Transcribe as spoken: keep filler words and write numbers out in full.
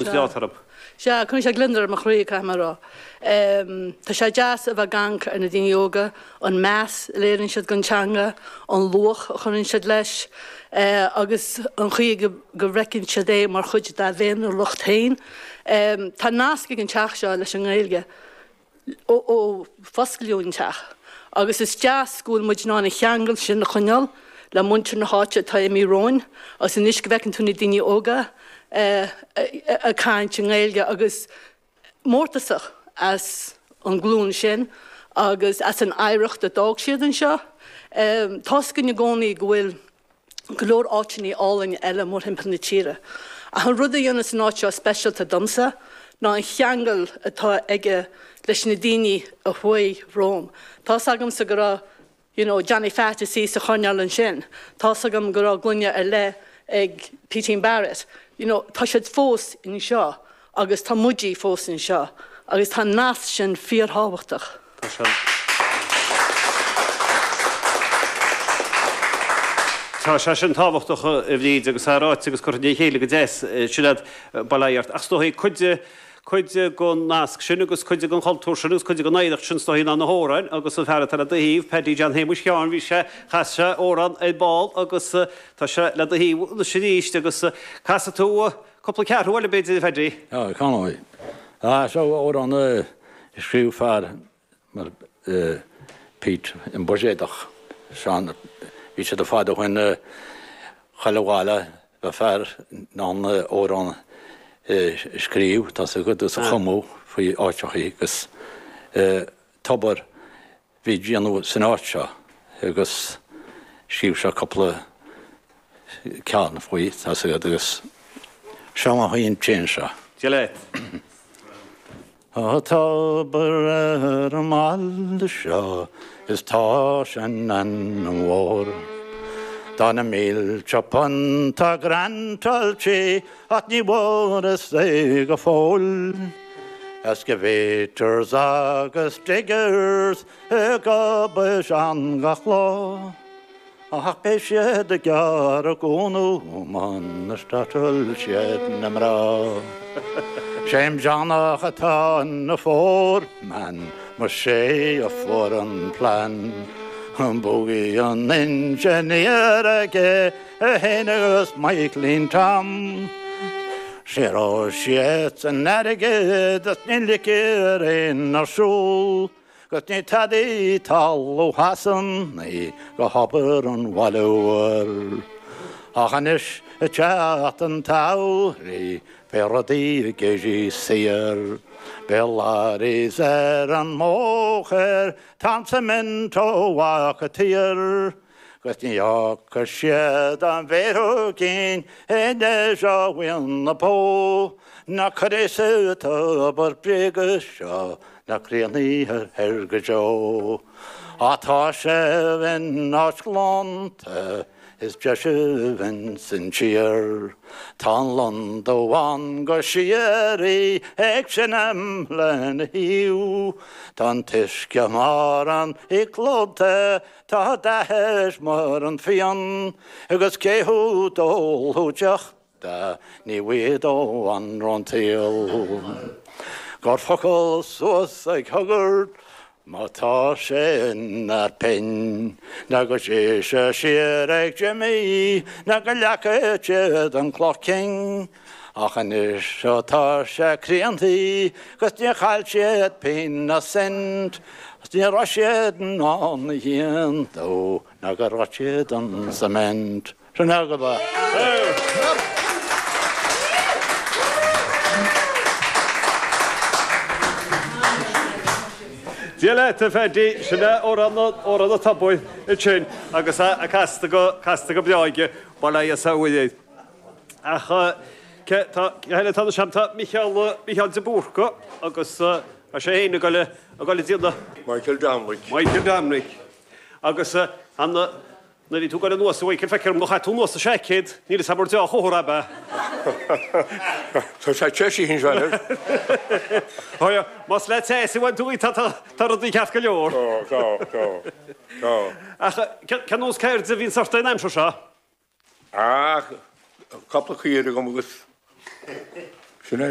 Is leat orm. Sea, cuireann sé gliondar ar mo chroí, caithfidh mé a rá. Tá sé deas a bheith ag amharc ar na daoine óga, an meas a léiríonn siad don teanga, an luach a chuireann siad leis, agus an chaoi go bhfeiceann siad é mar chuid dá bhféiniúlacht féin. Tá nasc ag an teach seo leis an nGaeilge ó fosclaíodh an teach, agus is deas go bhfuil muid in ann an cheangal sin a choinneáil le muintir na háite atá imithe romhainn, agus anois go bhfeiceann tú na daoine óga ag caint i nGaeilge agus mórtasach as an nglúin sin agus as an oidhreacht a d'fhág siad anseo. Tá's againn i gcónaí go bhfuil go leor áiteanna álainn eile mórthimpeall na tíre. Ach an rud a dhéanas an áit seo speisialta domsa ná an cheangal atá aige leis na daoine a chuaigh romham. Tá's agamsa go raibh you know, Johnny Phat is í sa choirnéal ansin. Tá's agam go raibh gloine ar leith ag Peatín Barrett. You know, tá siad fós anseo agus tá muide fós anseo agus tá an nasc sin fíorthábhachtach. Tá sé Tá sé sin tábhachtach a Bhríd agus é ráite agus curtha le chéile go deas sin iad bail ó Dhia ort. Ach is dóigh cuid cuid den nasc sin agus cuid den chultúr sin agus cuid den oidhreacht sin is dóigh ná na hamhráin agus an fear atá le do thaobh, Paddy John Shéamuis Sheáin, bhí sé, chas sé amhrán ar ball agus tá sé le do thaobh anois arís agus casfaidh tú cúpla ceathrú eile b'fhéidir a Phaddy. Á, canadh. Á, seo amhrán a scríobh fear mar Pete an Buiséadach, Seán, bhí siad fad ó shin chuile bhaile bheadh fear in ann amhrán a scríobh, tá's agat, agus a chumadh faoi áiteachaí agus tobar bhí déanamh san áit seo agus scríobh sé cúpla ceann faoi, tá's agat, agus seo mar an tséan seo. Dia leat. Tá tobar ar an mbaile seo is tá sé an-mhór. Tá na mílte punt á grantáilte ach ní bhfuarthas é go fóill. Excavators agus diggers ag obair ann gach lá. Ach beidh siad ag gearradh gúna muna startáil siad na mná. Sé'm Johnach atá ina foreman, mar sé a fuair an plean. An bogey an engineer aige é féin agus Michaelín Tom. Sé raibh siad san airgead is ní ligfear aon ar siúl. 'Gus ní tadaí talamh Shasanaigh go hobair an bhaile úir. Ach anois ag teacht an tsamhraidh beidh rudaí ag éirí saor. Beidh lorries ar an mbóthar, tá an cement ó bhfad thiar. 'Gus ní fhágfaidh siad an mhéar cinn anois ó bhuíon na bó. Ná cuirfidh sa tobar bréige seo na críochnaithe ar go deo. Á tá sé in áit ghlanta is deise ins an tír. Tá an londubh ann go síoraí ag seinm lena thaobh. Tá an t-uisce mar an clóta, tá dath air mar an bhfíon, agus cé thú d'ól deoch de ní bhfaighidh dó anró an tsaoil. Gur focal suas ag Hoggart má tá sé ina phinn, ná go dté sé siar ag Jimmy ná go leagfaidh siad an cloch cinn. Ach anois tá sé críontaí 'gus níor chaill siad pingin ná cent, 's ní raibh siad in ann a thiontú ná go raibh siad an cement. Sin agaibh é. Dia leat, a Phaddy, sin é amhrán amhrán an tobair ansin agus é casta go casta go breá aige, bail ó Dhia is ó Mhuire air. Ach cé tá cé eile atá anseo? Tá Micheál Micheál de Búrca agus tá sé féin ag dul ag dul ag déanamh. Michael Dominic. Michael Dominic. Agus an Nuair a bhí tú ag goil anuas, a Mhichael, feictear dom gur chaith tú anuas do seaicéad, níl 'fhios a'm ar deá-chomhartha ab ea? Tá sé te istigh anseo anois. Ó yeah, más le teas a bhain tú í, tá, tá, tá rudaí ceart go leor. Tá, tá, tá, tá. Ach cén nós ceirde a bhíonns ort an aimsir seo? Ach, cúpla caora agam agus Sin é.